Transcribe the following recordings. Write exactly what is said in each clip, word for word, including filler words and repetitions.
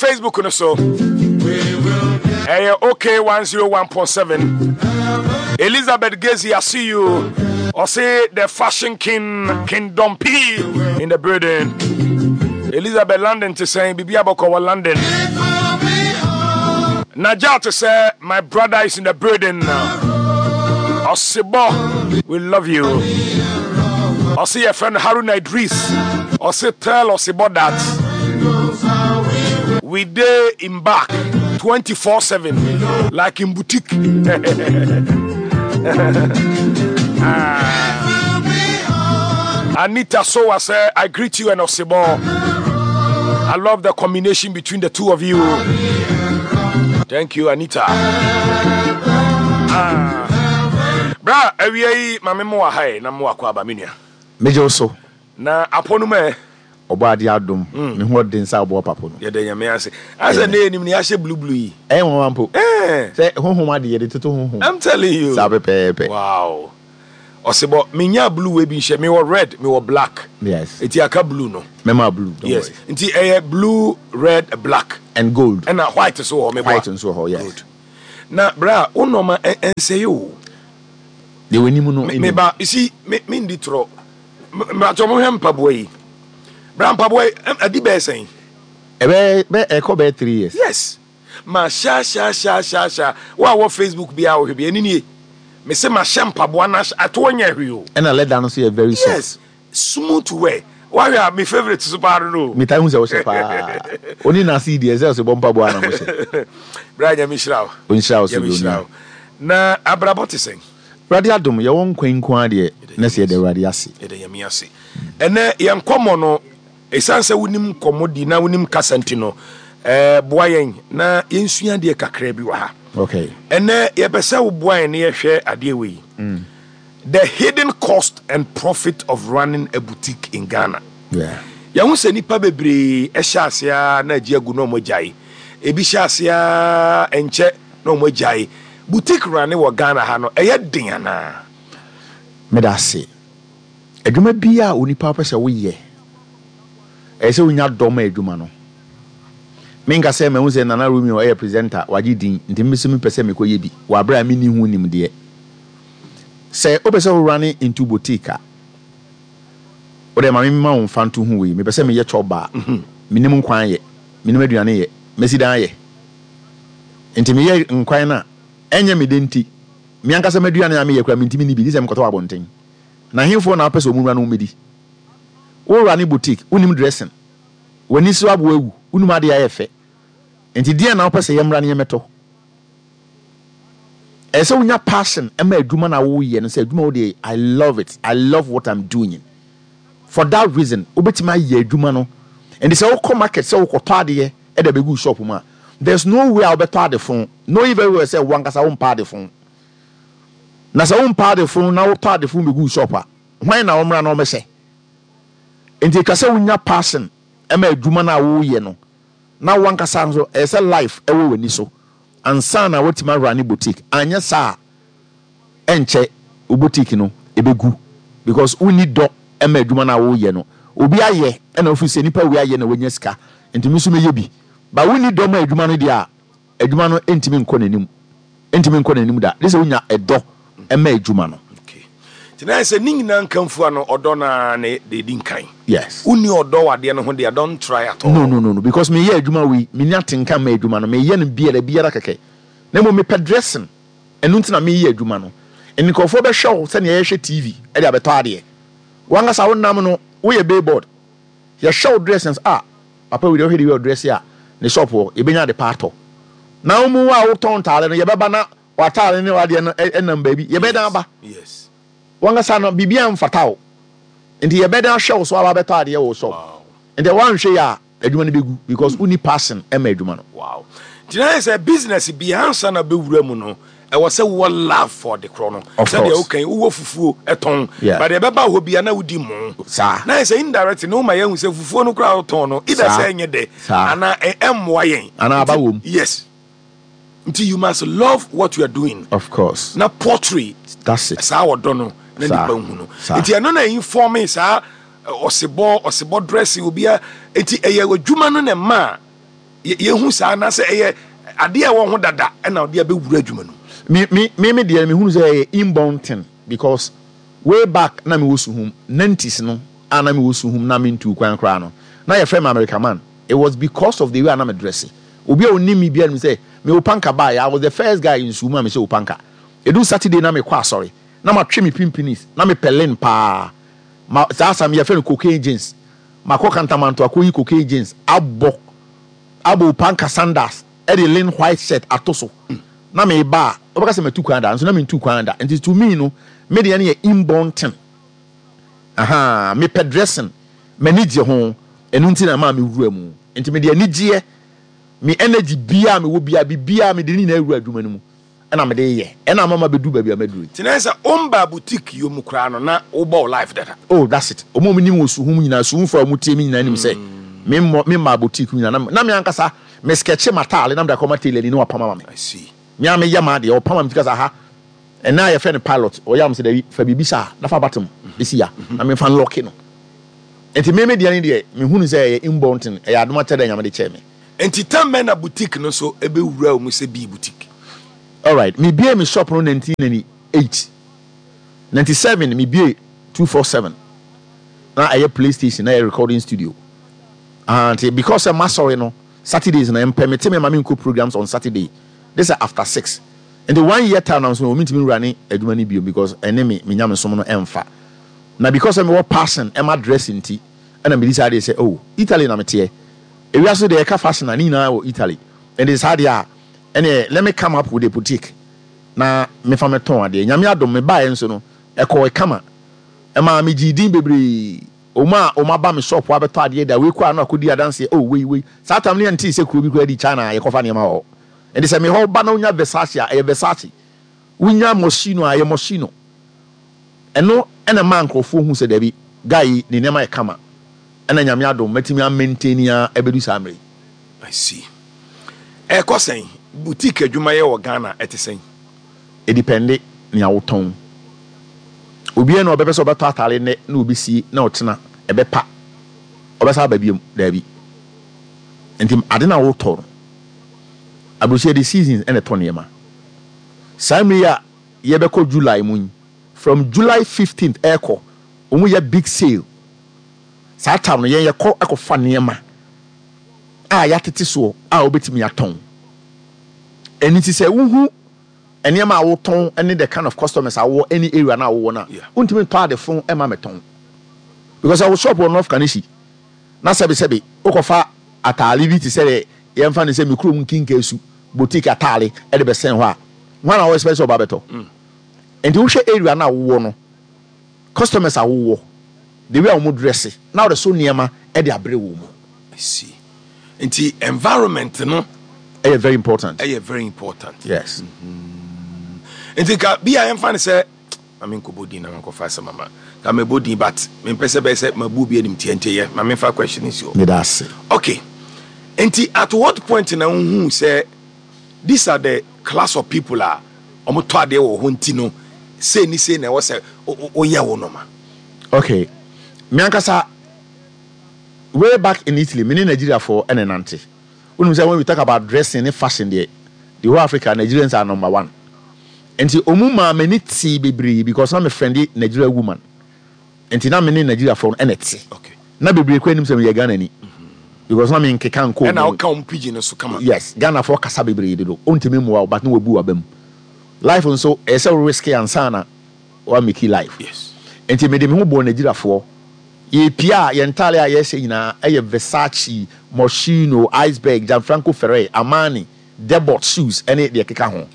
Facebook no so ɛyɛ OK one oh one point seven. Elizabeth Gazy, I see you. Ɔse the fashion king, Kingdom P in the building. Elizabeth, London te sɛn? Biribi abɔkɔ wɔ London? Najat sɛ my brother is in the building. Ɔsebɔ, we love you. Ɔse yɛ friend Haruna Idris. Ɔse tell Ɔsebɔ that we dey in back twenty-four seven like in boutique. Ah. Anita Sowa say, "I greet you and Osebo. I love the combination between the two of you." Thank you, Anita. Ah. Bra, awie yi, mame mo wɔ ha yi, na mo akɔ aba, me nua. Megye wo so. Na apɔ no mu ɛ? Ɔbɔ ade adom. Me ho ɔden sɛ aboɔ papo no. Yɛda Nyame ase. Asɛ ne yɛnim ne yɛahyɛ blue blue yi. Ɛyɛ nwanwa mpo. Eh. Sɛ honhom ade yɛde toto honhom. I'm telling you. Saa pɛpɛɛpɛ. Wow. Ɔsebɔ, menya blue wei bi nhyɛ. Mewɔ red, mewɔ black. Yes. Eti aka blue no. Mɛma blue, don't Yes. worry. Nti ɛyɛ blue, red, black. And gold. Ɛna white so wɔ hɔ, meboa? White nso wɔ hɔ, yes. Good. Na bra, wo nɔɔma ɛnsɛe o. Deɛ w'anim no Me- anim. Meba, you see, me mendi torɔ. Mbatɔ mo hwɛ mpaboa yi. Bra, mpaboa yi, ɛm, adi bɛyɛ sɛn? Ɛbɛyɛ bɛ ɛkɔ bɛyɛ three years. Yes. Ma hyɛ hyɛ hyɛ hyɛ hyɛ. Wo a wɔ Facebook bi a wɔhwɛ bi, ɛni nie. Me se ma hyɛ mpaboa na atoɔ nyɛ hwee o. Ɛna leather no nso yɛ very soft. Yes. Smooth wear. Wahwɛ a, me favourite so paa no no. Metaa hu sɛ wohyɛ paa. Oni na ase yi deɛ sɛ ɔsɛ bɔ mpaboa na mohyɛ. Bra, Nyame hyira wo. Ɔnhyira wo so Nyame bi hyira onua. wo. Na abrabɔ te sɛn? Awurade adom, yɛwɔ nkwa nko ara deɛ na sɛ yɛde Awurade ase. Yɛda Nyame ase. Ɛnɛ yɛn nkɔmmɔ no, ɛsiane sɛ wonim nkɔmmɔ di na wonim kasa nti no, ɛɛ boa yɛn na yɛnsua adeɛ kakra bi wɔ ha. Okay. Ɛnɛ yɛpɛ sɛ woboa yɛn na yɛhwɛ adeɛ wei, the hidden cost and profit of running a boutique in Ghana. Yeah. Yɛho sɛ nnipa bebree ɛhyɛ ase a na agye agu na ɔmo agyae. Ebi hyɛ ase a ɛnkyɛ na ɔmo agyae. Boutique running wɔ Ghana ha no, ɛyɛ den anaa? Meda ase. Adwuma biara a onipa pɛ sɛ woyɛ, ɛyɛ sɛ wonya dɔ ma adwuma no. Menka sɛ mahu sɛ Nana Romeo ɛyɛ presenter, wagye din, nti me nso mepɛ sɛ mekɔyɛ bi wɔ aberɛ a menni ho nimdeɛ. Sɛ wopɛ sɛ wo run into boutique a, wode ma memma wo mfa nto ho wei. Mepɛ sɛ meyɛ chop bar. Menim nkwan yɛ, menim aduane yɛ, mɛsi dan yɛ. Nti meyɛ nkwan no a, ɛnyɛ me de nti, me ankasa m'aduane a meyɛ koraa mentimi nni bi, gye sɛ mekɔtɔ wɔ abɔnten. Na ahemfoɔ na wopɛ sɛ ɔmu wura no wɔmmɛdi? Wo run boutique, wonim dressing, w'ani so aboa awu, wonim adeɛ ayɛ fɛ. Nti deɛn na wopɛ sɛ yɛmmra ne yɛmmɛtɔ? Ɛyɛ sɛ wonya passion ma adwuma no a woyɛ no, sɛ adwuma wo deɛ, I love it, I love what I'm doing. For that reason, wobɛtumi ayɛ adwuma no. Nti sɛ wokɔ market sɛ wokɔtɔ adeɛ ɛde abɛgu shop mu a, there's no way a wobɛtɔ ade fo knowing very well sɛ wo ankasa wompɛ ade fo. Na sɛ wompɛ ade fo na wotɔ ade fo bɛgu shop a, hwan na wɔmmra na wɔmmɛhyɛ? Nti atwa sɛ wonya passion ma adwuma no a woyɛ no, na wo ankasa nso ɛyɛ sɛ life ɛwɔ w'ani so ansa na woatumi a run boutique. Anyɛ saa a, ɛnkyɛ wo boutique no ɛbɛgu because wonni dɔ ma adwuma no a woyɛ no. Obi ayɛ ɛna wofiri sɛ nipa wei ayɛ na wanya sika, nti me nso mɛyɛ bi, ba wonni dɔ ma adwuma no deɛ a, adwuma no ntumi nkɔ n'anim, ntumi nkɔ n'anim da, de sɛ wonya ɛdɔ ma adwuma no. Okay. Nti na yɛ sɛ ne nyinaa nkamfua no, ɔdɔ naa ne de di nkan. Yes. Wonni ɔdɔ wɔ adeɛ no ho deɛ, don't try at all. No, no, no, no, because meyɛ adwuma wei, menni atenka ma adwuma no. Meyɛ no biara biara kɛkɛ, na mmom mepɛ dressing, ɛno nti na meyɛ adwuma no. Nkurɔfoɔ bɛhwɛ wo sɛnea yɛhwɛ T V ɛde abɛtɔ adeɛ. Wankasa wonam no, woyɛ billboard. Yɛhwɛ wo dressing a, papa wei deɛ, wohwɛ de wei ɔdress a, ne shop hɔ yɛbɛnya ade pa atɔ. Na wo mu a wotɔn ntaare no, yɛbɛba na w'ataare ne w'adeɛ no ɛnam baabi, yɛbɛdan aba. Yes. Wankasa no, biribiara mfata wo, nti yɛbɛdan ahwɛ wo so aba abɛtɔ adeɛ wɔ wo shop. Wow. Nti woanhwɛ yɛ a, adwuma no bɛgu because wonni passion ma adwuma no. Wow. Nti na yɛ sɛ business bi ansa na bɛwura mu no, ɛwɔ sɛ wowɔ love for de korɔ no. Of Sɛdeɛ course. wokan wowɔ fufuo ɛtɔn. Yeah. But ɛbɛba hɔ bia na wodi mo. Saa. Na yɛ sɛ indirect ne woma yɛahu sɛ fufuo no koraa wotɔn no, either Saa. sɛ ɛnyɛ dɛ Saa. anaa ɛ- ɛmmoa yɛn. Anaa aba Nti- wɔ mu. Yes. Nti you must love what you are doing. Of course. Na portray That's it. saa ɔdɔ no na Saa. nipa nhu no. Saa. Nti ɛno na informe saa ɛ, ɔsebɔ ɔsebɔ dressing obia. Nti ɛyɛ adwuma no na ɛma a Yɛhu saa anaasɛ ɛyɛ adeɛ a ɛwɔ ho dada ɛna ɔde abɛwura adwuma no? Me me me me deɛ, mehunu sɛ ɛyɛ inborn thing, because way back na mewɔ Suhum nineties no a, na mewɔ Suhum na mentu kwan koraa no, na yɛfrɛ me America Man. It was because of the way a na me dress. Obi a onim me biara nim sɛ me opanka baeɛ, I was the first guy in Suhum a mehyɛ opanka. Ɛdu Saturday na mekɔ asɔre na matwe me pimpinis na mepɛ lin paa ma saa asam yɛfrɛ no cocaine jeans. Makɔ Kantamanto akɔyi cocaine jeans abɔ abɔ opanka sandals, ɛde lin white shirt ato so na meba a, wobɛka sɛ matu kwan da, nso na mentu kwan da. Nti to me no, me deɛ no yɛ inborn thing. Aha, mepɛ dressing, m'ani gye ho. Ɛno nti na maa mewura mu. Nti mede anigyeɛ, me energy biaa mewɔ biaa, biribiaa mede ne nyinaa wura adwuma no mu ɛna mede yɛ, ɛna ama ma bɛdu baabi a maduru yi. Nti na sɛ womba boutique yi mu koraa no, na wobɔ wo life dada? Oh, that's it. Ɔmo a ɔmo nim wɔ Suhum nyinaa, Suhumfo a ɔmo tie mi nyinaa nim sɛ me mmɔ me mmaa boutique nyinaa na na me ankasa me sketch m'ataale na mede akɔma tailor ni na wapam ama me. I see. Me a meyɛ maa deɛ ɔpam ama me ti kasa ha ɛna a yɛfrɛ no pilot, ɔyɛ am sɛ dabi, fa biribi saa na fa button esi ya na memfa nlɔke no. Nti me me deɛ ne deɛ, mehunu sɛ ɛyɛ inborn thing, ɛyɛ adom akyɛdɛ Nyame de kyɛɛ me. Nti tam bɛn na boutique no nso ɛbɛwura wo mu sɛ bii boutique? Alright, mebie me shop no nineteen ninety-eight, ninety-seven mebie two four seven na ɛyɛ PlayStation, na ɛyɛ recording studio. Ah, nti because sɛ masɔre no Saturdays na mpɛ mete me ma menkɔ programs on Saturday, this is after six. Nti one year time na nso no mentumi nwura ne adwuma no bio because ɛne me me nyamesom no ɛmfa. Na because sɛ mewɔ passion ɛma dressing nti, ɛna mede saa deɛ sɛ, oh, Italy na meteɛ, ewiase deɛ ɛka fashion a ne nyinaa wɔ Italy. Nti saa deɛ a ɛneɛ, let me come up with a boutique na mefa metɔn adeɛ. Nyame adom, mebaeɛ nso no ɛkɔɔ kama, ɛmaa megyee din bebree. Ɔmo a ɔmo aba me shop abɛtɔ adeɛ da wei kɔ a no akɔdi adanseɛ. Oh, wei wei saa tam ne yɛntee sɛ kuro bi koraa di China a yɛkɔfa nneɛma wɔ hɔ. Nti sɛ mehɔ ba na wonya Versace a, ɛyɛ Versace, wonya Moschino a, ɛyɛ Moschino. Ɛno ɛna maa nkurɔfoɔ hu sɛ dabi, guy yi ne nneɛma yɛ kama. Ɛna Nyame adom, mɛtumi amaintain a ɛbɛdu saa mmerɛ yi. I see. Ɛkɔ sɛn? Boutique adwumayɛ wɔ Ghana ɛte sɛn? Ɛdepend nea wotɔn. Obiara na ɔbɛpɛ sɛ ɔbɛtɔ atare nnɛ na obesie na ɔtena ɛbɛpa ɔbɛsa aba biom? Daabi. Nti ade na wotɔ no, aburokyire de seasons ɛna ɛtɔ nneɛma. Saa mmere yi a yɛbɛkɔ July mu yi, from July fifteenth ɛɛkɔ, wɔn yɛ big sale. Saa time no yɛn yɛkɔ ɛkɔfa nneɛma a yɛatete soɔ a wobɛtumi atɔn. Ɛno nti sɛ wohu nneɛma a wotɔn ne the kind of customers a wowɔ any area na wowɔ no a, Yeah. wontumi ntɔ ade fo ma mɛtɔn, because ɛwɔ shop wɔ North Kaneshie na sɛbesɛbe wokɔfa ataale bi te sɛ deɛ yɛmfa no sɛ me kurom Nkinka Su boutique ataale ɛde bɛsɛn hɔ a, hwan na wɔ expect sɛ ɔba bɛtɔ? Nti wohwɛ area no a wowɔ no, customers a wowɔ, the way a wɔn dress na wɔde so nneɛma ɛde abrɛ wɔ mu. I see. Nti environment no ɛyɛ very important. Ɛyɛ very important. Yes. Nti ka bi a yɛmfa no sɛ ma menkɔbɔ din na mankɔfa asɛm ama ka mebɔ din, but mempɛ sɛ bɛyɛ sɛ mabu obi anim tiɛ, nti yɛ ma memfa question si hɔ. Meda ase. Okay, nti at what point na wohu sɛ these are the class of people a ɔmo tɔ adeɛ wɔ hɔ, nti no sei ni sei na ɛwɔ sɛ wo- wo- woyɛ wo nɔma? Okay, me ankasa, way back in Italy, me ne Nigeriafoɔ ɛna nante. Wonim sɛ when we talk about dressing ne fashion deɛ, the whole Africa, Nigerians are number one. Nti ɔmu maa m'ani tee bebree because na me friend Nigeria woman, nti na me ne Nigeriafoɔ no ɛna te. Okay na bebree kɔ anim sɛ meyɛ Ghana ni because na me nkeka nkɔ ɛna mu. Woka wɔn pidgin no so kama. Yes, Ghanafoɔ kasa bebree dodo, ɔntumi mmoa wo, but ne wabu waba mu. Life nso ɛyɛ sɛ wo risk ansa na wa make life. Yes nti mede me ho bɔɔ Nigeriafoɔ. Yɛpia a, yɛn ntaale a yɛhyɛ nyinaa ɛyɛ Versace, Moschino, Iceberg, Gianfranco Ferre, Armani, Debot shoes ɛne deɛ keka ho.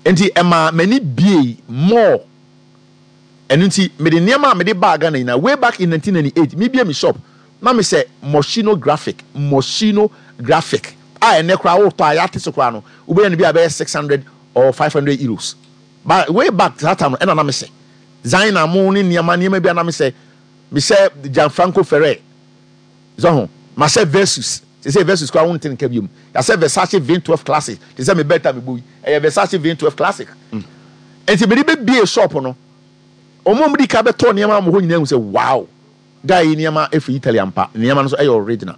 Nti ɛma m'ani bie more. Ɛno nti mede nneɛma a mede baa Ghana nyinaa way back in nineteen ninety-eight, mebie me shop na mehyɛ Moschino graphic, Moschino graphic a ɛnɛ koraa wotɔ a yɛate so koraa no, wobɛnya no bi a bɛyɛ six hundred or five hundred euros, but way back that time no ɛna na mehyɛ Zina mo ne nneɛma nneɛma bi a na mehyɛ mehyɛ Gianfranco Ferre zɔ ho, mahyɛ Versus te sɛ Versus koraa wonte nka biom. Yɛasɛ Versace V twelve Classic te sɛ me bɛta mebɔ yi, ɛyɛ Versace V twelve Classic. Nti mede bɛbie shop no, ɔmo a ɔmo di ka bɛtɔ nneɛma wɔ hɔ nyinaa hu sɛ, wow, guy yi nneɛma efiri Italy ampa, nneɛma no nso ɛyɛ original.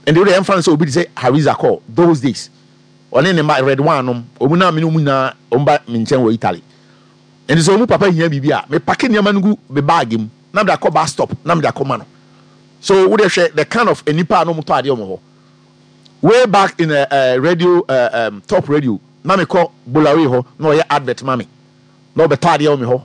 Nti wode ɛmfa no sɛ obi te sɛ Hariza kɔ those days, ɔne ne mma Red One nom, ɔmu na me ne ɔmu nyinaa ɔmu ba me nkyɛn wɔ Italy. Nti sɛ ɔmu papa hia biribi a, me pack nneɛma no gu me bag mu na mede akɔ bus stop na mede akɔma no. So wode hwɛ the kind of nipa a na ɔmu tɔ adeɛ ɔmo hɔ. Way back in uh, uh, radio, uh, um, Top Radio, na mekɔ Bolawe hɔ na ɔyɛ advert ma me na ɔbɛtɔ adeɛ wɔ me hɔ.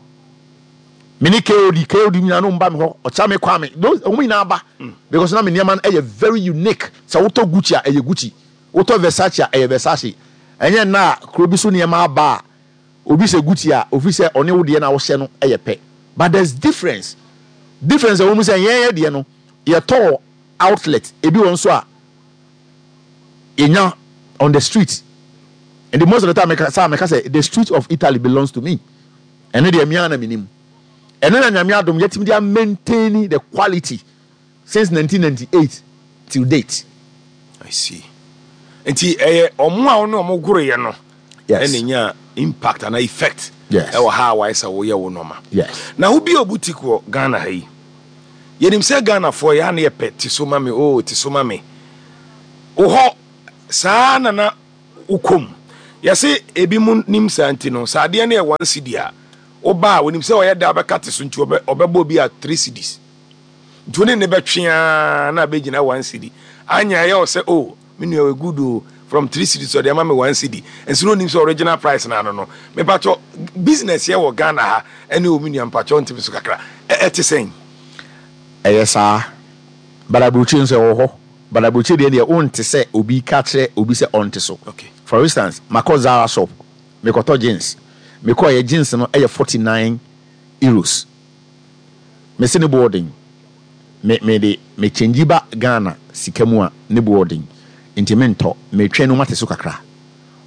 Me ne K O D K O D nyinaa no mba me hɔ, ɔkyɛ me Kwame, those ɔmo nyinaa ba because na me nneɛma no ɛyɛ very unique. Sɛ wotɔ Gucci a, ɛyɛ Gucci, wotɔ Versace a, ɛyɛ Versace. Ɛnyɛ nna a kuro bi so nneɛma aba a, obi sɛ Gucci a, ofi sɛ ɔne wo deɛ na wohyɛ no ɛyɛ pɛ, but there's difference difference ɛwɔ mu sɛ yɛn yɛ deɛ no, yɛtɔ outlet ebi wɔ nso a yɛnya on the street. And the most of the time meka sɛ meka sɛ the street of Italy belongs to me. Ɛno deɛ, mea na menim. Ɛno na Nyame adom yɛtumi de maintain the quality since nineteen ninety-eight till date. I see. Nti ɛyɛ ɔmo a ɔne ɔmo goroyɛ no yes ɛna nya impact ana effect Yes. ɛwɔ ha a wayɛ sɛ woyɛ wo nɔɔma. Yes. Na wobi a boutique wɔ Ghana ha yi, yɛnim sɛ Ghanafoɔ yɛ a ne yɛpɛ te so ma me o, te so ma me. Wo hɔ saa na na wokɔm yɛse ebi mu nim saa. Nti no sɛ adeɛ no yɛ one cedi a, woba a onim sɛ ɔyɛ da bɛka te so, nti ɔbɛ- ɔbɛbɔ bi a three cedis, nti wo ne ne bɛtwea na bɛgyina one cedi anya. Ɛyɛ wo sɛ, "Oh, me nua wɔ good o, from three cedis ɔde ama me one cedi," nso na onim sɛ original price na ano no. Mepatwɔ, business yɛ wɔ Ghana ha ɛne o, me nua, mpatwɔ, ntimi so kakra. Ɛ- ɛte sɛn? Ɛyɛ saa, but aburokyire nso ɛwɔ hɔ, but aburokyire deɛ deɛ wonte sɛ obi ka kyerɛ obi sɛ ɔnte so. Okay for instance, makɔ Zara shop, mekɔtɔ jeans. Mekɔ yɛ jeans no ɛyɛ forty nine euros. Mesi ne boɔ me me de me change ba Ghana sika mu a, ne boɔ den, nti mentɔ, metwɛn no mate so kakra.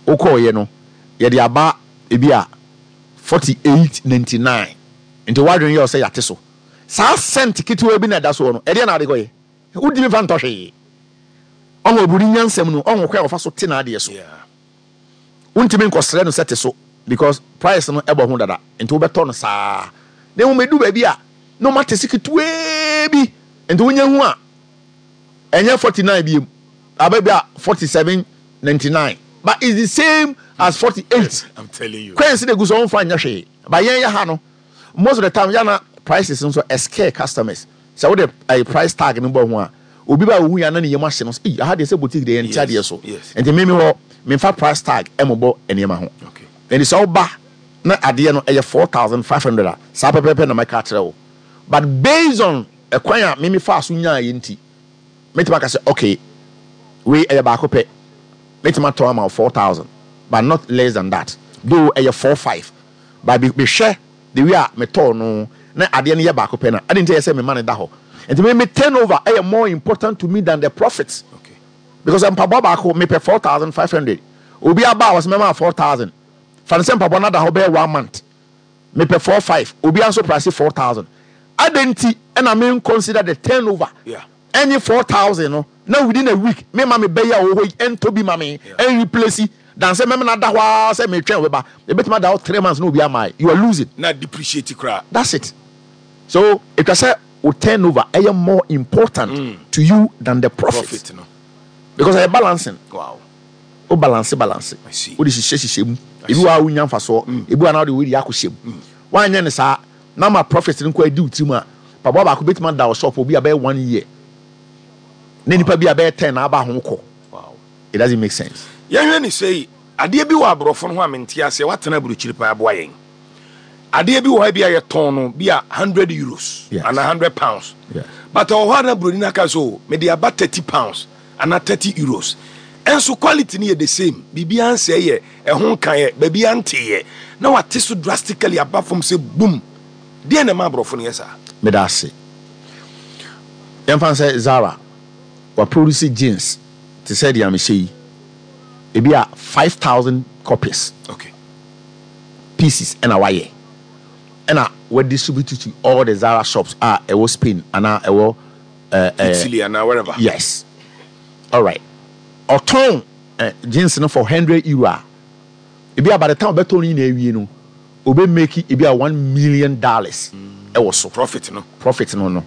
Wokɔɔyɛ no, yɛde aba ebi a forty eight ninety nine, nti wadwene yɛ sɛ yɛate so. Saa cent ketewa bi na ɛda soɔ no, ɛdeɛ na ade kɔyɛ, wodimi fa ntɔ hwee. Ɔho oburoni nyansɛm no, ɔho kwan a ɔfa so te n'adeɛ so. Yeah. Wontumi nkɔsrɛ no sɛ te so because price no ɛbɔ ho dada, nti wobɛtɔ no saa. Na mmom edu baabi a na ɔma te se ketewaa bi, nti wonya hu a, ɛnyɛ forty nine biem, aba bi a forty seven ninety nine, but it's the same as forty eight. I'm telling you. Kwan si de gu so, ɔnfa nyɛ hwee. But yɛn yɛ ha no, most of the time yana prices nso ɛscare customers. Sɛ wode ɛyɛ price tag no bɔ ho a, obi ba ohu ya na ne yam ahye no sɛ, "Eyi aha deɛ, sɛ boutique deɛ, yɛn ti adeɛ so." yes. Nti mímí hɔ, mímfa price tag ɛmobɔ nneɛma ho. Okay. Nti sɛ ɔba na adeɛ no ɛyɛ four thousand five hundred a, saa pɛpɛɛpɛ na mɛka akyerɛ wo. But based on ɛkwan a mímí fa so nyaa yɛ nti, mɛtumi aka sɛ, okay, wei ɛyɛ baako pɛ, mɛtumi atɔn ama wo four thousand, but not less than that, though ɛyɛ four five. But bi mehwɛ the way a metɔɔ no na adeɛ no yɛ baako pɛ na ade nti ɛyɛ sɛ mema no da hɔ. Nti me me turnover ɛyɛ more important to me than the profit Okay. because mpaboa baako mepɛ four thousand five hundred, obi aba a wɔsɛ mɛma four thousand. Fa no sɛ mpaboa no ada hɔ bɛyɛ one month, mepɛ four five, obi nso price four thousand. Ade nti ɛna me consider the turnover Yeah. ɛne four thousand no na within a week me ma me bɛyɛ a ɔwɔ hɔ yi ɛntɔ bi ma me ɛn replace dan sɛ mɛmɛ na da hɔ ara sɛ metwɛn ɔbɛba. Ebɛtumi ada hɔ three months na obi ama, you are losing. Na depreciate koraa. That's it. So etwa sɛ o turnover ɛyɛ more important mm. to you than the profit, profit no. Because ɛyɛ balancing. Wow. O balance balance. I see. O de hyehyɛ hyehyɛ mu, ebi wɔ a wonya nfasoɔ, ebi wɔ a na wode wei de akɔ hyɛ mu. Wanyɛ ne saa na ma profit no nkɔ adi wo tirim a, paboa baako bɛtumi ada wɔ shop obi a bɛyɛ one year na nipa bi a bɛyɛ ten na aba ho kɔ. Wow. It doesn't make sense. Yɛhwɛ ne sɛ adeɛ bi wɔ aborɔfo no ho a mente aseɛ. Woatena aburokyiri paa, aboa yɛn. Adeɛ bi wɔ hɔ bi a yɛtɔn no bi a hundred euros Yes. anaa hundred pounds, Yeah. but ɔwɔ hɔ a na buroni no aka so, mede aba thirty pounds anaa thirty euros, ɛnso quality no yɛ the same, biribiara nsɛe yɛ, ɛho nka yɛ, baabi anteyɛ, na wate so drastically aba fam sɛ boom. Deɛ na ɛma aborɔfo no yɛ saa? Meda ase. Yɛmfa sɛ Zara waproduce jeans te sɛ deɛ mehyɛ yi, ebi a five thousand copies, okay pieces, ɛna wayɛ ɛna wadistribute to all the Zara shops a ɛwɔ Spain anaa ɛwɔ uh, uh, Italy anaa wherever. Yes, alright. Ɔtɔn uh, jeans no for hundred euro a, ebi a by the time ɔbɛtɔn no nyinaa awie no, obe make ebi a one million dollars ɛwɔ so. Profit no. Profit no no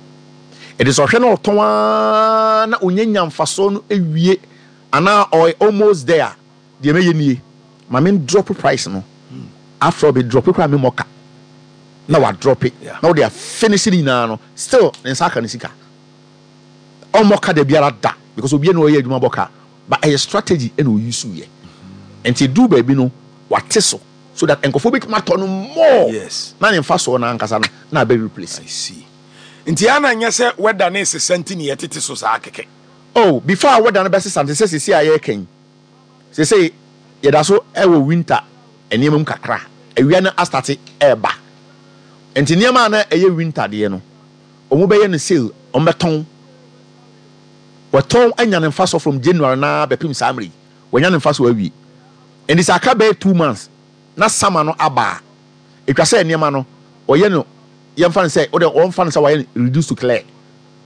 Ɛde sɛ ɔhwɛ na ɔtɔn aa na onya nya mfasoɔ no awie anaa ɔyɛ almost there, deɛ mɛyɛ nie, ma me drop price no. After all, me drop koraa, me mmɔ ka na wa drop it Yeah. na wɔde afinish ne nyinaa no, still ne nsa aka ne sika. Ɔmmɔ ka da biara da, because obiara na ɔyɛ adwuma bɔ ka, but ɛyɛ strategy ɛna oyi so yɛ. Nti du baabi no, wate so so that nkɔfoɔ bɛtumi atɔ no more Yes. na ne nfa soɔ no ankasa no na abɛ replace. I see. Nti ana nyɛ sɛ weather ne sesa nti ne yɛtete so saa kɛkɛ? Oh, before a weather no bɛsesa nte sɛ sisi a yɛreka yi, sese yɛda so ɛwɔ winter nneɛma mu kakra. Awia no astart ɛɛba, nti nneɛma a na ɛyɛ winter deɛ no, wɔn bɛyɛ no sale, wɔn bɛtɔn, wɔtɔn anya ne nfa so from January na bɛpem saa mmere yi, wɔnya ne nfa so awie. Nti sɛ aka bɛyɛ two months na summer no aba a, etwa sɛ nneɛma no ɔyɛ no, yɛmfa no sɛ wɔde wɔmfa no sɛ wɔayɛ no reduce to clear,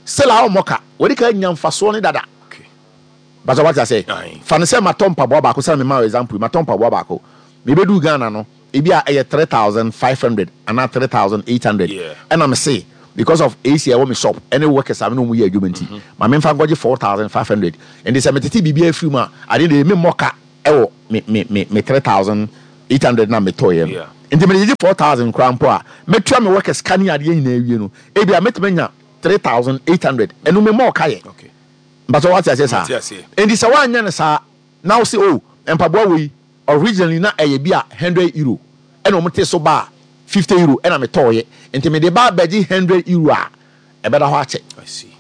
still a ɔmmɔ ka, wɔde ka nya mfasoɔ ne dada. Okay. Bàtà wate ase? Aye. Fa ne sɛ matɔ mpaboa baako, sɛ mema wo example, matɔ mpaboa baako, mebɛdu Ghana no, ebi a ɛyɛ three thousand five hundred anaa three thousand eight hundred. Yeah. Ɛna me se because of A C a ɛwɔ me shop ɛne workers a me ne wɔn yɛ adwuma nti, ma memfa nkɔgye four thousand five hundred. Nti sɛ metete biribi afiri mu a, adeɛ de me mmɔ ka ɛwɔ me me me me three thousand eight hundred na metɔɔyɛ no. Yeah. Nti mede gyegye four thousand koraa mpo a, mɛtua me workers ka ne adeɛ nyinaa awie no, ebi a mɛtumi anya three thousand eight hundred. Ɛno me mmɔ ka yɛ. Okay. Mpatɛ wate aseɛ saa? Mate aseɛ. Nti sɛ woanyɛ no saa na wo sɛ, oh, mpaboa wei originally na ɛyɛ bi a hundred euro, ɛna ɔmo te so ba a fifty euro ɛna metɔɔyɛ, nti mede ba abɛgye hundred euro a, ɛbɛda hɔ akyɛ. I see.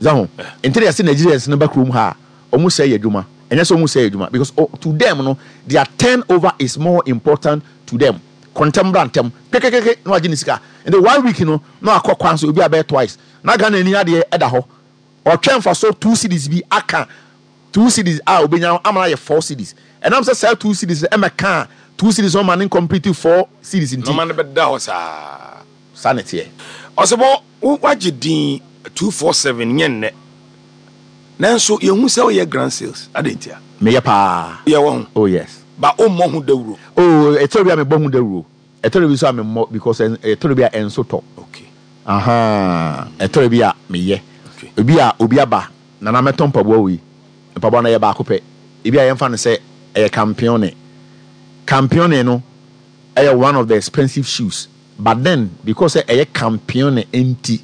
Zaho nti na yɛsɛ Nigerians no ba kurom ha a, ɔmo sɛ yɛ adwuma. Ɛnyɛ sɛ ɔmo sɛ yɛ adwuma, because oh, to them no, their turnover is more important to them. Kɔntɛm bra ntɛm kekekeke na wagye ne sika. Nti one week no na wakɔ kwan so obi abɛyɛ twice, na Ghana ani adeɛ ɛda hɔ, ɔtwɛn fa so two cedis bi aka two cedis a obenya ama no ayɛ four cedis. Ɛnam sɛ saa two cedis no ɛmɛ ka two cedis ɔma ne complete four cedis nti nɔɔma no bɛda hɔ saa. Saa ne teɛ. Ɔsɛbɔ wo wagye din two four seven nyɛ nnɛ, nanso yɛhu sɛ woyɛ grand sales ade ntia? Meyɛ paa. Yɛwɔ ho? Oh yes. Ba wommɔ ho dawuro? Oh, ɛtɔrɔ bi a mebɔ ho dawuro, ɛtɔrɔ bi nso a memmɔ, because ɛ- ɛtɔrɔ bi a ɛnso tɔ. Okay aha, ɛtɔrɔ bi a meyɛ. Okay. Obi a obi aba, nana, mɛtɔ mpaboa wei, mpaboa no yɛ baako pɛ, ebi a yɛmfa no sɛ ɛyɛ Campione. Campione no ɛyɛ one of the expensive shoes, but then because sɛ ɛyɛ Campione nti,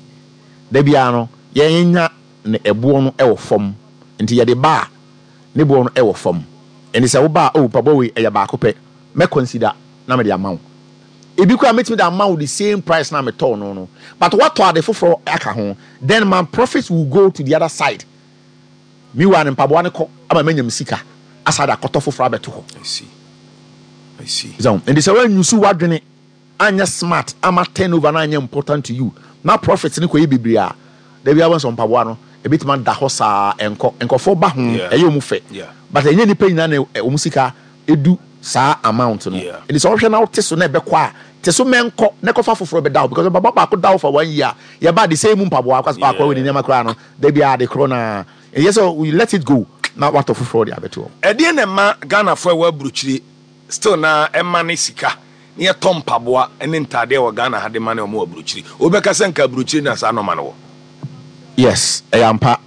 da biara no yɛnya ne ɛboɔ no ɛwɔ fam, nti yɛde ba a, ne boɔ no ɛwɔ fam. Ɛnti sɛ woba a, oh, mpaboa wei ɛyɛ baako pɛ, mɛ consider na mede ama wo. Ebi koraa mɛtumi de ama wo the same price na metɔɔ no no but woatɔ ade foforɔ aka ho, then my profit will go to the other side. Meanwhile ne mpaboa no kɔ ama manya me sika asa de akɔtɔ foforɔ abɛto hɔ. I see. I see. So nti sɛ woanyusu w'adwene anyɛ smart ama turnover na anyɛ important to you na profit ne kɔyɛ bebree a, da bi abɔ sɛ mpaboa no ebɛtumi ada hɔ saa, ɛnkɔ nkɔfoɔ ba ho. Yeah. Ɛyɛ ɔmu fɛ, Yeah. but ɛnyɛ nipa nyinaa na ɛ- ɔmu sika edu saa amount no. Yeah. Nti sɛ ɔhwɛ na wote so na ɛbɛkɔ a, te so mɛnkɔ na ɛkɔfa foforɔ bɛda hɔ, because mpaboa baako da hɔ for one year, yɛba de same mu mpaboa akɔ akɔ wɔ ne nneɛma koraa no, da bi a de korɔ na ɛyɛ sɛ we let it go na watɔ foforɔ de abɛto hɔ. Ɛdeɛ na ɛma Ghanafoɔ a ɛwɔ aburokyire still na ɛma ne sika ne yɛtɔ mpaboa ne ntaadeɛ wɔ Ghana ha de ma ne ɔmo wɔ aburokyire? Wobɛka sɛ nka aburokyire na saa nɔɔma no wɔ? Yes, ɛyɛ ampa.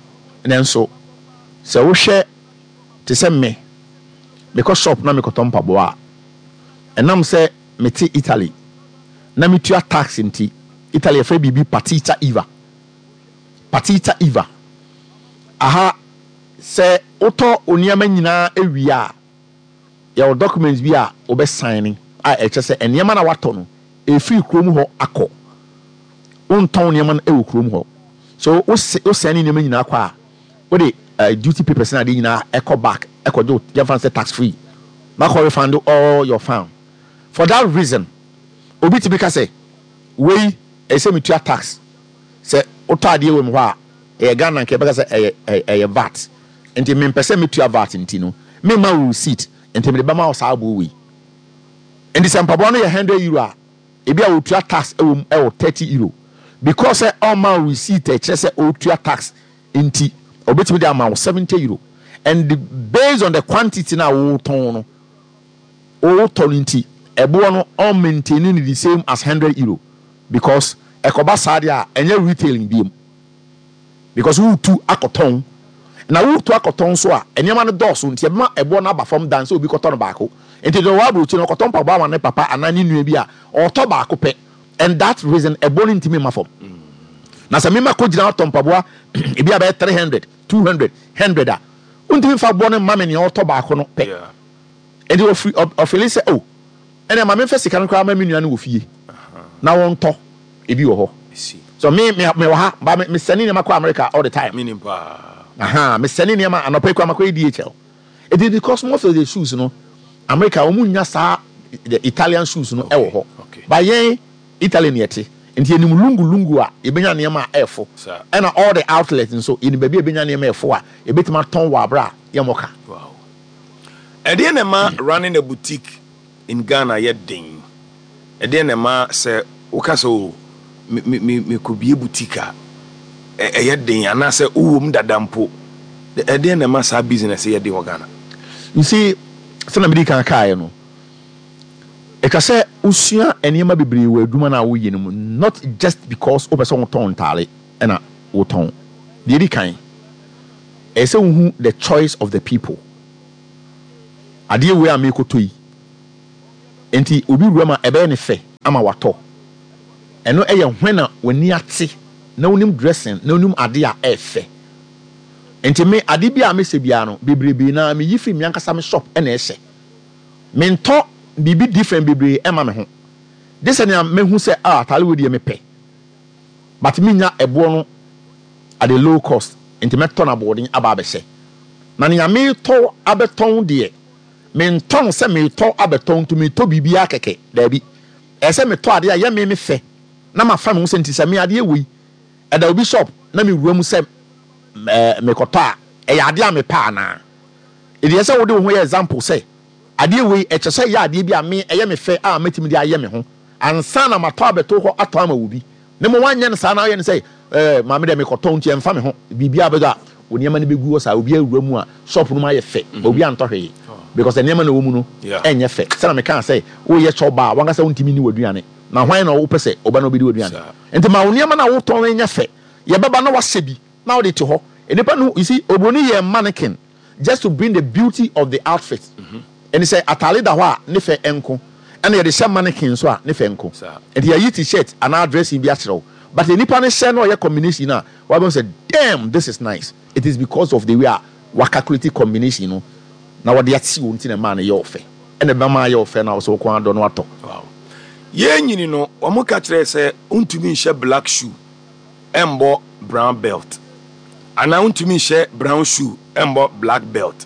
Nanso sɛ wohwɛ te sɛ me, mekɔ shop na mekɔtɔ mpaboa a, ɛnam sɛ mete Italy na metua tax nti, Italy yɛfrɛ biribi partita IVA. Partita IVA aha, sɛ wotɔ wo nneɛma nyinaa awie a, yɛwɔ documents bi a wobɛsign a ɛkyɛ sɛ nneɛma na watɔ no ɛfiri kurom hɔ akɔ, wontɔn nneɛma no ɛwɔ kurom hɔ. So wosɛ wosɛn ne nneɛma nyinaa kɔ a, wode uh, duty papers na ade nyinaa ɛkɔ back, ɛkɔgye wo, yɛmfa no sɛ tax free na kɔ refund all your fund. For that reason, obi tumi ka sɛ wei ɛsɛ metua tax. Sɛ wotɔ adeɛ wɔ mu hɔ a, ɛyɛ Ghana nka yɛbɛka sɛ ɛyɛ ɛyɛ ɛyɛ V A T, nti mempɛ sɛ metua V A T nti no, memma wo receipt, nti mede bɛma wo saa aboɔ wei. Nti sɛ mpaboa no yɛ hundred euro a, ebi a wotua tax ɛwɔ mu ɛwɔ thirty euro, because sɛ ɔma wo receipt a ɛkyerɛ sɛ ɔtua tax nti, ɔbɛtumi de ama wo seventy euro. And the, based on the quantity na wotɔn no, wotɔ no nti, ɛboɔ no ɔn maintain no the same as hundred euro, because ɛkɔba saa deɛ a, ɛnyɛ retailing biem. Because wotu akɔtɔn, na wotu akɔtɔn so a, nneɛma no dɔɔso, nti ɛbɛma ɛboɔ no aba fam dan sɛ obi kɔtɔ no baako. Nti deɛ ɔwɔ aburokyi no, ɔkɔtɔ mpaboa ama ne papa anaa ne nua bi a, ɔtɔ baako pɛ, and that reason ɛboɔ no ntumi ma fam. Na sɛ mema kɔ gyina atɔ mpaboa ebi a bɛyɛ three hundred, two hundred, hundred a, wontumi mfa boɔ no mma me nea ɔtɔ baako no pɛ. Yeah. Nti ɔfiri ɔfeel sɛ, oh, ɛnna ma memfa sika no koraa ma me nua no wɔ fie na wɔntɔ ebi wɔ hɔ. I see. So me me me wɔ ha ba, me me send nneɛma kɔ America all the time. Meaning paa. Aha, me send nneɛma anɔpɛ yi kɔ amakɔ yɛ D H L. It is because most of the shoes no, America wɔn nya saa the Italian shoes no ɛwɔ hɔ. Okay. Ba yɛn Italy ni ɛte, nti yɛnim lungu lungu a yɛbɛnya nneɛma a ɛɛfo. Saa. Ɛna all the outlets nso, yɛnim baabi a yɛbɛnya nneɛma ɛɛfo a yɛbɛtumi atɔn wɔ abere a yɛmmɔ ka. Wow. Ɛdeɛ na ɛma running a boutique in Ghana yɛ den? Ɛdeɛ na ɛma sɛ woka sɛ o, me me me mekɔbie boutique a, ɛ- ɛyɛ den, anaasɛ wowɔ mu dada mpo? Ɛdeɛ na ɛma saa business yɛ den wɔ Ghana? You see, sɛnɛ mede kan kaeɛ no, ɛtwa sɛ wosua nneɛma bebree wɔ adwuma no a woyɛ no mu, not just because wopɛ sɛ wotɔn ntaale ɛna wotɔn. Deɛ ɛdi kan, ɛyɛ sɛ wohu the choice of the people. Adeɛ wei a merekɔtɔ yi, nti obi wura mu a, ɛbɛyɛ ne fɛ ama watɔ. Ɛno ɛyɛ hwɛn na w'ani ate na wonim dressing na wonim adeɛ a ɛyɛ. Nti me ade bi a mesɛ biara no bebrebe na meyi firi me ankasa me shop ɛna ɛhyɛ. Mentɔ biribi different bebree ɛma me ho de sɛ nea mehu sɛ, ah, ataale wei deɛ mepɛ, but menya ɛboɔ no at a low cost, nti mɛtɔ no aboɔden aba abɛhyɛ. Na nea metɔ abɛtɔn deɛ, mentɔn sɛ metɔ abɛtɔn, nti metɔ biribiara kɛkɛ, daabi. Ɛyɛ sɛ metɔ adeɛ a ɛyɛ me me fɛ na mafa me ho sɛ, nti sɛ me adeɛ wei ɛda obi shop na mewura mu sɛ ɛɛ mekɔtɔ a, ɛyɛ adeɛ a mepɛ anaa? Ɛdeɛ sɛ wode wo ho yɛ example sɛ adeɛ wei ɛkyɛ sɛ ɛyɛ adeɛ bi a me ɛyɛ me fɛ a mɛtumi de ayɛ me ho ansa na matɔ abɛto hɔ atɔ ama wo bi. Ne mo wanyɛ no saa na woyɛ no sɛ ɛɛ maame deɛ, mekɔtɔ nti ɛmfa me ho biribiara bɛdɔ a, wo nneɛma no bɛgu hɔ saa. Obi awura mu a, shop no mu ayɛ fɛ, obi antɔ hwee because nneɛma na ɛwɔ mu no Yeah. ɛnyɛ fɛ. Sɛna mekaa sɛ woyɛ chop bar, wankasa wontumi ni w'aduane, na hwan na wopɛ sɛ ɔba na wobɛdi w'aduane? Saa. Nti ma wo nneɛma no a wotɔn no nyɛ fɛ, yɛbɛba na wahyɛ bi na wode te hɔ. Nipa no, you see, obroni yɛ mannequin just to bring the beauty of the outfit. Ɛni sɛ ataale da hɔ a, ne fɛ nko, ɛna yɛde hyɛ mannequin so a, ne fɛ nko. Saa. Nti yɛyi T-shirt anaa dressing bi akyerɛ wo, but nipa no hyɛ na ɔyɛ combination a, wabɛn sɛ, "Damn, this is nice." It is because of the way a wa calculate combination no na wɔde ate wɔn ti na mmaa no yɛ ɔfɛ, ɛna ɛbɛma ayɛ ɔfɛ na ɔsɛ ɔkɔn adɔ no atɔ. Wow. Yɛn nyini no, wɔn ka kyerɛ sɛ ntumi nhyɛ black shoe ɛmbɔ brown belt, anaa ntumi nhyɛ brown shoe ɛmbɔ black belt,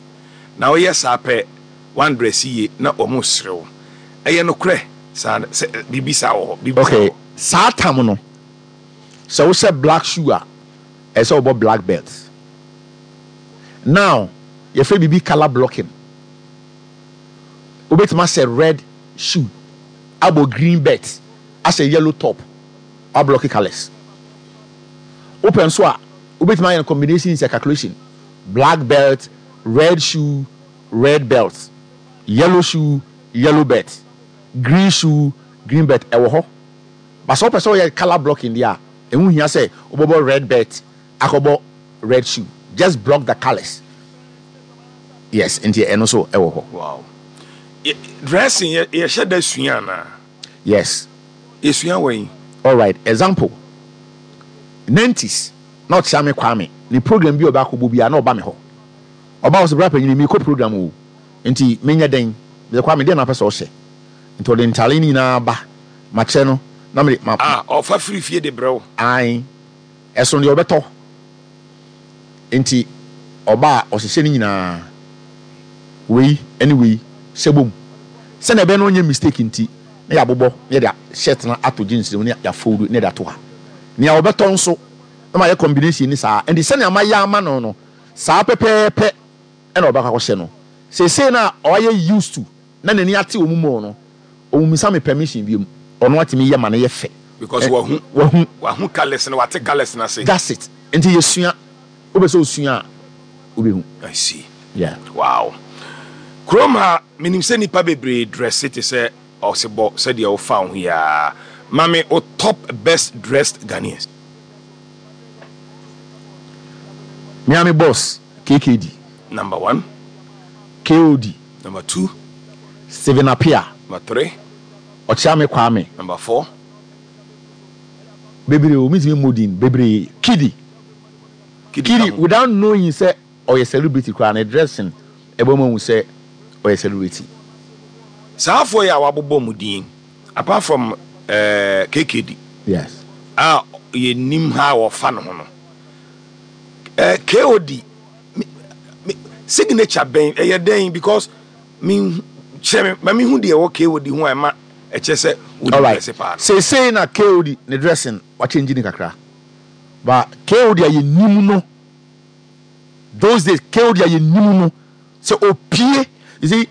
na woyɛ saa pɛ, wandress yie na wɔn serew. Ɛyɛ nokorɛ saa sɛ biribi saa wɔ hɔ, biribi saa Okay wɔ hɔ? Saa tam no, sɛ wohyɛ black shoe a, ɛsɛ wɔbɔ black belt. Now yɛfrɛ biribi colour blocking. Wobɛtumi ahyɛ red shoe abɔ green belt, ahyɛ yellow top, ablock colours. Wopɛ nso a, wobɛtumi ayɛ no combination, sɛ calculation: black belt, red shoe, red belt, yellow shoe, yellow belt, green shoe, green belt. Ɛwɔ hɔ. But sɛ wopɛ sɛ woyɛ colour blocking deɛ a, ɛho hia sɛ wobɛbɔ red belt akɔbɔ red shoe. Just block the colours. Yes, nti ɛno nso ɛwɔ hɔ. Wow. Yɛ- dressing yɛ yɛhyɛ da sua anaa? Yes. Yɛsua wɔ yi? Alright, example, nineties na ɔkyea me Kwame ne program bi a ɔbɛ akɔbɔ bi a, na ɔba me hɔ. Ɔba wɔ sɛ, "Bra panyini, mekɔ program o, nti menyɛ dɛn?" Mesɛ, "Kwame, deɛ na apɛ sɛ ɔhyɛ?" Nti ɔde ntaale no nyinaa ba, makyerɛ no na mede ma. Ah, ɔfa firi fie de brɛ wo? Ae, ɛso deɛ ɔbɛtɔ. Nti ɔba a, ɔhyehyɛ no nyinaa, wei ne wei hyɛ bom sɛnea ɛbɛyɛ no ɔnyɛ mistake. Nti na yɛabobɔ na yɛde shirt no ato jeans no mu na yɛafold na yɛde ato ha. Nea ɔbɛtɔ nso na mayɛ combination ni saa. Nti sɛnea mayɛ ama no no saa pɛpɛɛpɛ ɛna ɔbɛkɔ akɔhyɛ no. Seesei no a ɔayɛ used to na n'ani ate wɔ mu mu no, ɔmmisa me permission biom. Ɔno atumi yɛ ma no yɛ fɛ. Because Ɛ, wahu. Wahu. Wahu colours no, wate colours no ase. That's it. Nti yɛsua. Wopɛ sɛ osua a, wobɛhu. I see. Yeah. Wow. Kurom ha, menim sɛ nnipa bebree dress te sɛ ɔsebɔ sɛdeɛ wofa wo ho yi a. Ma me wo top best dressed Ghanaians. Miami boss K K D. Number one. K O D. Number two. Stephen Appiah. Number three. Ɔkyeame Kwame. Number four. Bebree o, mi ti mi mmɔ din bebree. Kidi. Kidi. Kidi ka ho. Without knowing sɛ ɔyɛ celebrity koraa, ne dressing ɛbɛ mu ahu sɛ ɔyɛ celebrity. Saa afɔ yi a wabobɔ mu din, apart from uh, K K D yes a yɛnim ha a wɔfa ne ho no, uh, K O D me, me, signature bɛn ɛyɛ dɛn? Because me kyerɛ me ma mehu deɛ ɛwɔ K O D ho a ɛma ɛkyerɛ sɛ wodi Alright. dress paa no. Seesei na K O D ne dressing wakyɛngyi ne kakra, but K O D a yɛnim no those days, K O D a yɛnim no sɛ opie, you see,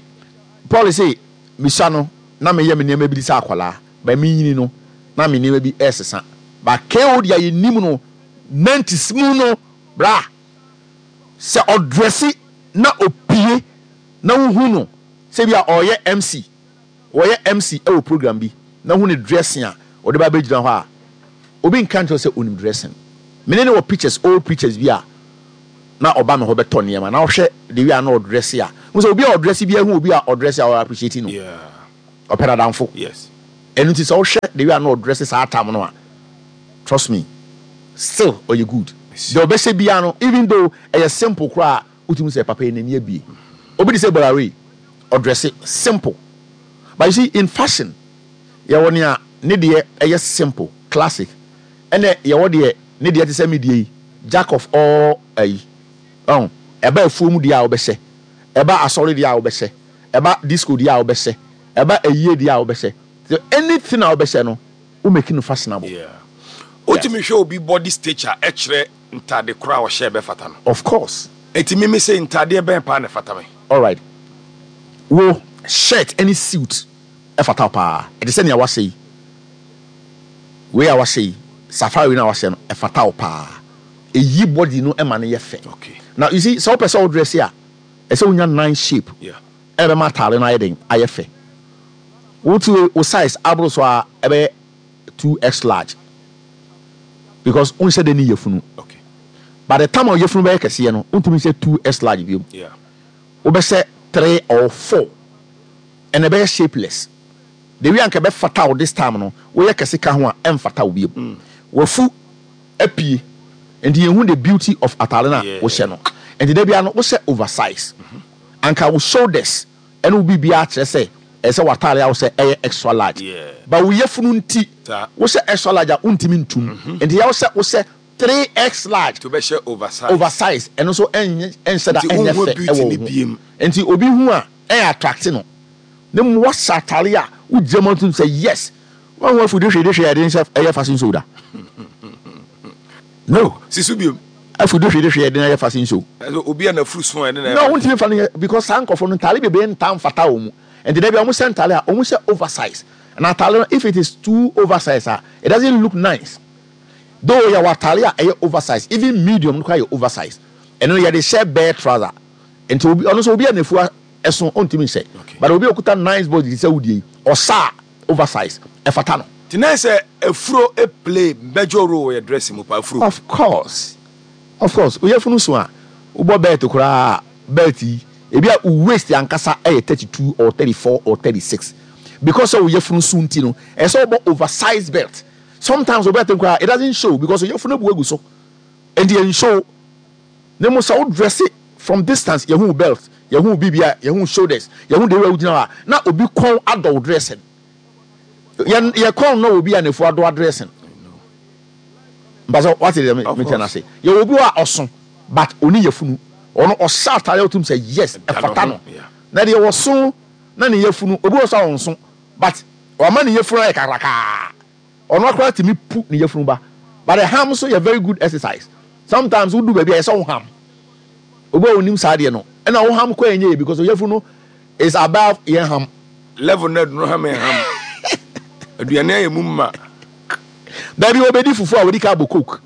Paul say misa no na meyɛ me nneɛma bi de sɛ akwadaa, but menyini no na me nneɛma bi ɛsesa, but K O D a yɛnim no nineties mu no, bra, sɛ ɔdress na opie na wohu no sɛ bi a ɔyɛ M C, wɔyɛ M C ɛwɔ program bi na hu ne dressing a ɔde ba bɛgyina hɔ a, obi nka nkyerɛ sɛ onim dressing. Mene ne wɔ pictures, old pictures bi a na ɔba me hɔ bɛtɔ nneɛma na ɔhwɛ the way a na ɔdress a n sɛ obi a ɔdress bi ahu obi a ɔdress a ɔyɛ appreciate no. Yeah. Ɔpɛ nadamfo. Yes. Ɛno nti sɛ wohwɛ the way a na ɔdress saa tam no a, trust me, still ɔyɛ good. Deɛ ɔbɛhyɛ biara no, even though ɛyɛ simple koraa, wotumi sɛ papa yi n'ani abie. Obi de sɛ Bolawe ɔdress simple, but you see, in fashion yɛwɔ nea ne deɛ ɛyɛ simple classic, ɛnɛ yɛwɔ deɛ ne deɛ te sɛ me deɛ yi, jack of all ayi ɔn ɛba afuo mu deɛ a wobɛhyɛ, ɛba asɔre deɛ a wobɛhyɛ, ɛba disco deɛ a wobɛhyɛ, ɛba ayie deɛ a wobɛhyɛ. So anything a wobɛhyɛ no, wo make no fashionable. Yeah. Wotumi hwɛ obi body stature ɛkyerɛ ntade koro a ɔhyɛ bɛfata no? Of course. Eti mimi sɛ ntadeɛ bɛn paa na ɛfata me? Alright, wo shirt any suit ɛfata wo paa. Ɛte sɛ nea wahyɛ yi, wei a wahyɛ yi, safari no a wahyɛ no, ɛfata wo paa. Ɛyi body no ɛma no yɛ fɛ. Okay. Now you see, sɛ wopɛ sɛ wo dress a, ɛsɛ wonya nice shape. Yeah. Ɛna bɛma ataare no ayɛ den, ayɛ fɛ. Wotu wo size aboro so a, ɛbɛyɛ two x large because wonhyɛ de ne yɛfunu. Okay. By the time a yɛfunu bɛyɛ kɛseɛ no, wontumi nhyɛ two x large biom. Yeah. Wobɛhyɛ three or four ɛna ɛbɛyɛ shapeless. The way anka ɛbɛfata wo this time no, woyɛ kɛse ka ho a, ɛmfata wo biom. Wafu apie nti yɛhu the beauty of ataare no a Yeah. wohyɛ no. Nti da bia no wohyɛ oversize, anka wo shoulders ɛne wo biribiara kyerɛ sɛ ɛsɛ w'ataare a wohyɛ ɛyɛ extra large. Yeah. But wo yɛfunu nti Saa. wohyɛ extra large a, wontumi ntum. Nti yɛ wohyɛ wohyɛ three x large. To bɛhyɛ oversize. Oversize ɛno nso ɛnyɛ ɛnhyɛ da Nti ɛnyɛ wonhu fɛ beauty ɛwɔ ne wo ho. biem. Nti obi hu a, ɛyɛ attract no ne mu. Wahyɛ ataare a wogyina mu atum sɛ yes, wɔn ho afu de hwɛ de hwɛ yɛde nhyɛ ɛyɛ fashion show da no. Si so biom. Afu de hwɛ de hwɛ yɛde ɛyɛ fashion show. Ɛsɛ obi a n'afuru so a ɛne na No, wontumi fa no yɛ because saa nkɔfo no ntaare bebree nta mfata wɔn mu. Nti dabi a wɔn hyɛ ntaare a, wɔn hyɛ oversize na ataare no, if it is too oversize a, it doesn't look nice. Though yɛ wɔ ataare a ɛyɛ oversize, even medium no koraa yɛ oversize. Ɛno yɛde hyɛ bare trouser. Nti obi ɔno nso, obi a n'afua ɛso, ɔntumi nhyɛ. Okay. But obi a okuta nice body sɛ wodie yi, ɔsa a oversize ɛfata no. Nti na sɛ afuro e play major role wɔ yɛ dressing mu pa, afuro? Of course, of course. Oyɛ funu so a, wobɔ belt koraa, belt yi ebi a wo waist ankasa ɛyɛ thirty two or thirty four or thirty six, because sɛ woyɛ funu so nti no, ɛsɛ wobɔ oversize belt. Sometimes wo belt koraa, it doesn't show because oyɛ funu abu agu so, nti yɛn show ne mo. Sɛ wo dress from distance, yɛhu wo belt, yɛhu wo biribi a, yɛhu wo shoulders, yɛhu de wura wogyina hɔ a, na obi kɔn adɔ wo dressing. Yɛn yɛ kɔn na obi a n'efu adɔ dressing mpasɛ wate deɛ Of mekyɛ course. no ase. Yɛwɔ obi hɔ a ɔso but oni yɛfunu, ɔno ɔhyɛ ataare a, wotum sɛ yes, ɛfata no. Yeah. Na deɛ wɔso na ne yɛfunu, obi wɔ so a ɔnso but wama ne yɛfunu ayɛ kakrakaa, ɔno akora tumi pu ne yɛfunu ba. But the ham nso yɛ very good exercise. Sometimes wodu baabi a, yɛ sɛ wo ham. Obi a onim saa deɛ no, ɛna wo ham kɔ ɛnyɛ yɛ because yɛfunu no is above yɛn ham. Level na adunu ham yɛ ham aduane ayɛ mu ma. Baabi obedi fufu a, wɔdi ka abɔ Coke,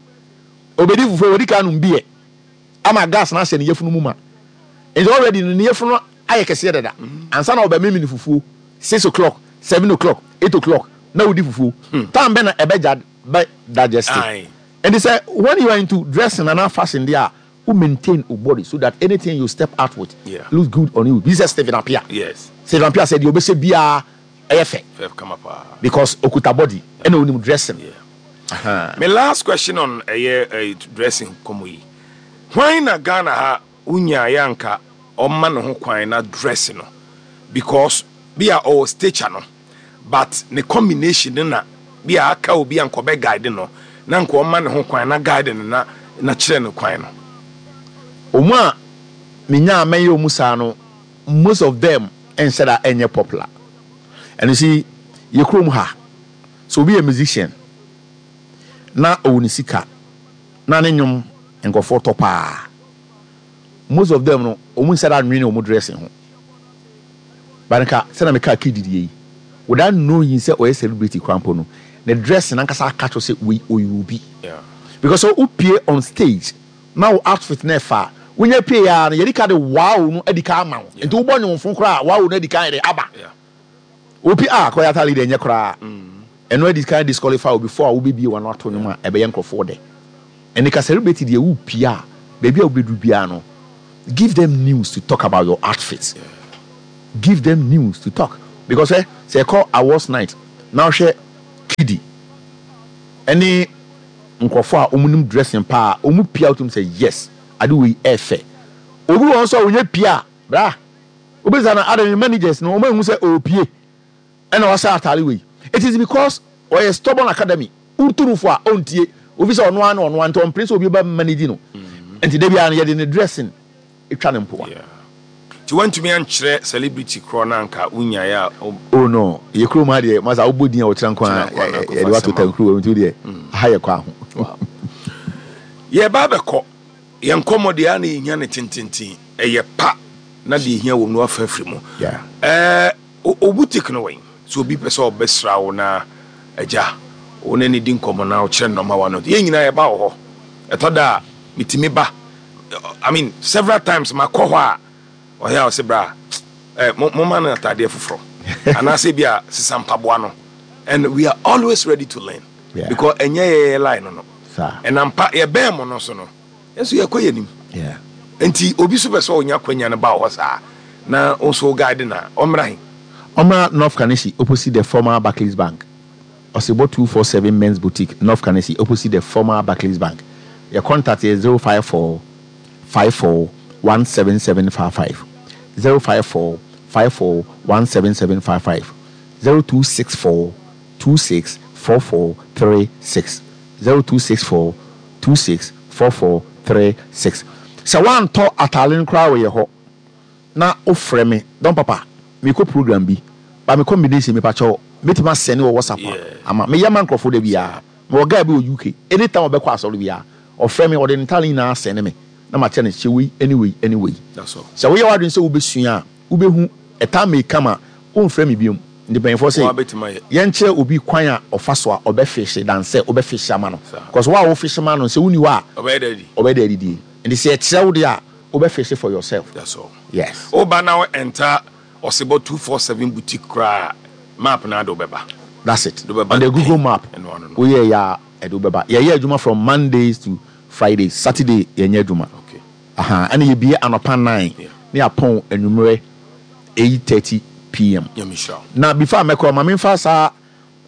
obedi fufu a, wɔdi ka anum beer ama gas na ahyɛ ne yɛfunu mu ma. Nti already no ne yɛfunu no ayɛ kɛseɛ dada ansa na ɔbɛ mímí ne fufuo. Six o'clock, seven o'clock, eight o'clock na wodi fufuo time bɛ na ɛbɛ gya bɛ digest. Aye. Nti sɛ when you are into dressing ana fashion deɛ a, Wo maintain wo body so that anything you step out with Yeah. looks good on you. Bi sɛ Stephen Appiah. Yes. Stephen Appiah sɛ deɛ ɔbɛhyɛ biara ɛyɛ fɛ. Fɛ kama paa. Because okuta body ɛna onim dressing. Yeah. Uh-huh. My last question on ɛyɛ ɛyɛ dressing kɔmɔ yi. Hwan na Ghana ha wonya yɛ anka ɔma ne ho kwan na dress no, because bi a ɔwɔ stature no, but ne combination no na bi a aka obi a nkɔbɛ guide no na nka ɔma ne ho kwan na guide no na na kyerɛ no kwan no? Ɔmo a menya a mɛyɛ ɔmo saa no, most of them ɛnhyɛ da ɛnyɛ popular. And you see, yɛ kurom ha, so obi yɛ musician na ɔwɔ ne sika na ne nnwom nkɔfoɔ tɔ paa, most of them no, ɔmo nhyɛ da nwene ɔmo dressing ho. But nka sɛnɛ meka kididi yi, without knowing sɛ ɔyɛ celebrity krampo no, ne dressing ankasa aka kyerɛ sɛ wei ɔyɛ obi. Yeah. Because sɛ wopie on stage na wo outfit na ɛfa a, wonya pie ya no, yɛde ka de wow no adi ka ama wo. Nti wobɔ nnwomfo koraa, wow no adi ka yɛde aba. Yeah. Opi a kɔyɛ atale deɛ, ɛnyɛ koraa. Ɛno adi kan disqualify wo before a wobɛbie wano ato nnwom a ɛbɛyɛ nkurɔfoɔ dɛ. Ɛne ka celebrity deɛ, wopie a, baabi a wobɛduru biara no, give them news to talk about your outfit. Give them news to talk, because ɛ sɛ ɛkɔ awards night na wohwɛ Kidi ɛne nkurɔfoɔ a wɔn nim dressing paa, wɔn pia, wotum sɛ yes, ade wei ɛɛfɛ. Obi wɔn nso a wɔnyɛ pia a bra obisa na ade ne managers no, wɔn ehu sɛ ɔɔpie ɛna wahyɛ ataare wei. It is because ɔyɛ stubborn academy wotunufo a ɔntie ofi sɛ ɔno ano ɔno ano, nti ɔmpere sɛ obi ba manage no. Nti dabi a no, yɛde ne dressing etwa ne mpoa. Yeah. Nti woantumi ankyerɛ celebrity korɔ no anka wonyaeɛ a wo- Oh no, yɛ kurom ha deɛ, masa wobɔ din a wɔkyerɛ nko a, Kyerɛ nko a na akɔfa yɛde wato asɛm tankuru wɔ nti deɛ ha yɛ kɔ aho. Yɛba bɛkɔ yɛn nkɔmmɔ deɛ a na yɛhia ne tententen ɛyɛ pa na deɛ ɛhia wɔ mu no wafa afiri mu. Yeah. Ɛɛ, o o boutique no wɛn so obi pɛ sɛ ɔbɛsra wo na agya wo ne ne di nkɔmmɔ na ɔkyerɛ nnɔma wa no, yɛn nyinaa yɛba wɔ hɔ. Ɛtɔ da a metumi ba, I mean, several times makɔ hɔ a ɔyɛ a ɔsɛ bra ɛ mo moma no atadeɛ foforɔ anaasɛ bi a sesa mpaboa no, and we are always ready to learn Yeah. because ɛnyɛ yɛyɛ line no no Saa. ɛnam pa yɛbɛn mo no so no, yɛnso yɛkɔ yɛ nim. Yeah. Nti obi so pɛ sɛ ɔnya kwanya no ba wɔ hɔ saa na wo nso wo guide na ɔmmra he? Ɔmra North Kaneshie, opposite the former Barclays Bank. Ɔsebɔ two four seven Men's Boutique, North Kaneshie, opposite the former Barclays Bank. Your contact is zero five four five four one seven seven five five, zero five four five four one seven seven five five, zero two six four two six four four three six, zero two six four two six four four three six. Sɛ woantɔ atale no koraa wɔ yɛ hɔ na wofrɛ me, "Don Papa, mekɔ program bi ba, me combination, mepakyɛw, mɛtumi asɛne wɔ WhatsApp?" Yeah. A ama meyɛ ma nkurɔfoɔ da biara. Mewɔ guy bi wɔ U K, anytime ɔbɛkɔ asɔre biara, ɔfrɛ me, ɔde ne ntale nyinaa asɛne me na makyɛ no, hyɛ wei, ɛne wei, ɛne wei. That's all. Sɛ woyɛ w'adwene sɛ wobɛsua a, wobɛhu ɛta meka ma womfrɛ me biom. Nti mpanyimfoɔ Wa sɛ bɛtumi ayɛ. Yɛnkyerɛ obi kwan a ɔfa so a ɔbɛfihye dan sɛ wobɛfihye ama no, Saa. because wo a wofihye ma no, sɛ woni hɔ a, ɔbɛyɛ dɛ di. Ɔbɛyɛ dɛ adidie. Nti sɛ yɛkyerɛ wo deɛ a, wobɛfihye for yourself. That's all. Yes. Woba na wo enter Ɔsebɔ two four seven Boutique koraa, map na ade wobɛba. That's it. De wobɛba On the Google pɛn. Map. Ɛno ano no. Woyɛ yɛ a, ɛde wobɛba. Yɛyɛ adwuma from Mondays to Fridays. Saturday yɛnyɛ adwuma. Okay. Aha, ɛna yɛbie anɔpa nine Yeah. ne apɔn anwummerɛ eight thirty p m. Nyame hyira wo. Na before mɛkɔ, ma memfa saa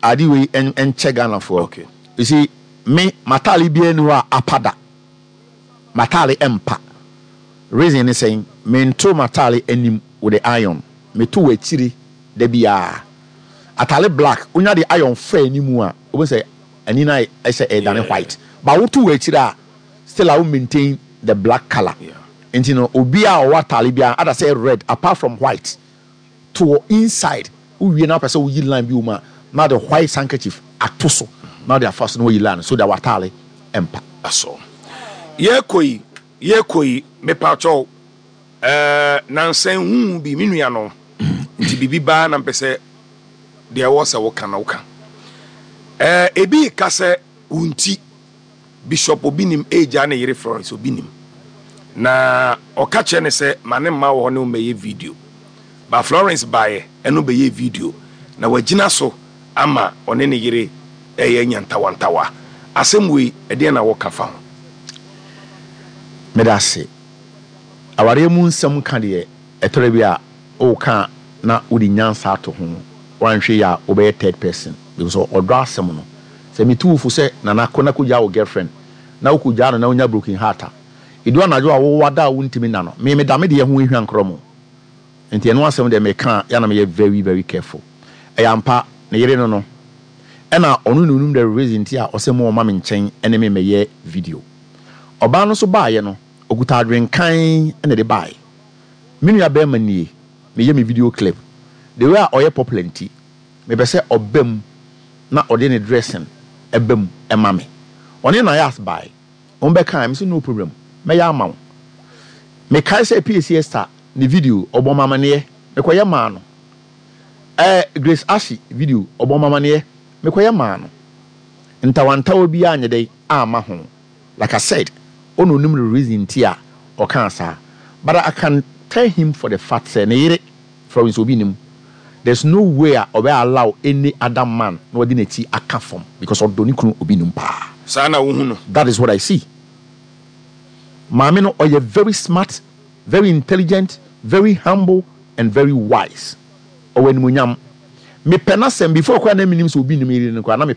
ade wei ɛn- ɛnkyɛ Ghanafoɔ. Okay. You see, me matale biara ni hɔ a apa da. Matale ɛmpa. Reason ne sɛn? Mento matale anim with the iron, meto wɔ akyire da biara. Atale black, wonya de iron fa anim a, wobɛhu sɛ ani no ayɛ sɛ ɛdane Yeah. white, but woto wɔ akyire a, still a wo maintain the black colour. Yeah. Nti no, obi a ɔwɔ atale biara ada sɛ red, apart from white, to wɔ inside, wowie na wopɛ sɛ woyi line bi wɔ mu a, na de white handkerchief ato so na wode afa so na wayi line so that watale ɛmpa. That's all. Yɛkɔ yi, yɛkɔ yi, mepakyɛw, ɛɛ nansan hu bi me nua no nti biribi baa na mpɛ sɛ deɛ ɛwɔ sɛ woka na woka. Ɛɛ ebi ka sɛ wo nti Bishop Obinim egya ne yere Florence Obinim na ɔka kyerɛ ne sɛ ma ne mma wɔ hɔ ne wo mmɛyɛ video ba. Florence baeɛ, ɛno bɛyɛ video na wagyina so ama ɔne ne yere ɛyɛ nyantawantawa. Asɛm wei, ɛdeɛn na wɔka fa ho? Meda ase. Awareɛ mu nsɛm ka deɛ, ɛtɔrɔ bi a ɔka na wode nyansa ato ho, wanhwɛ yi a, wobɛyɛ third person, because ɔdɔ asɛm no, sɛ metu wo fo sɛ nana kɔ na kɔgyaa wo girlfriend na wokɔgyaa no na wonya broken heart a, ɛdu anadwo a wowɔ da a wontumi nna no, me meda me deɛ ho ehwa nkorɔ mo. Nti ɛno asɛm deɛ, meka a, yɛna meyɛ very very careful. Ɛyɛ ampa, ne yere no no ɛna ɔno na onim the reason nti a ɔsɛ mo ɔma me nkyɛn ɛne me mɛyɛ video. Ɔbaa no nso baayɛ no, okuta adwenkan ɛna de baayɛ. Me nua bɛrima nie, meyɛ me video clip, the way a ɔyɛ popular nti, mepɛ sɛ ɔba mu na ɔde ne dressing ɛba mu ɛma me. Ɔne Nayas bae, wɔn bɛka mi sɛ no problem, mɛyɛ ama wo. Mekae sɛ P A C Esther ne video, ɔbɔ mamaneɛ, mekɔyɛ maa no. ɛɛ Grace Ashi video, ɔbɔ mamaneɛ, mekɔyɛ maa no. Ntawantawa bi anyɛ dɛ ama ho. Like I said, ɔna onim the reason ti a ɔkaa saa, but I can tell him for the fact sɛ ne yere Florence Obi nim, there's no way a ɔbɛ allow any other man na ɔde n'akyi aka fam, because ɔdɔ ne kunu Obi nim paa. Saa na wohu no? That is what I see. Maame no ɔyɛ very smart, very intelligent, very humble and very wise. Ɔwɔ animonyam. Mepɛ n'asɛm before koraa na menim sɛ Obi nim yere no koraa na mepɛ.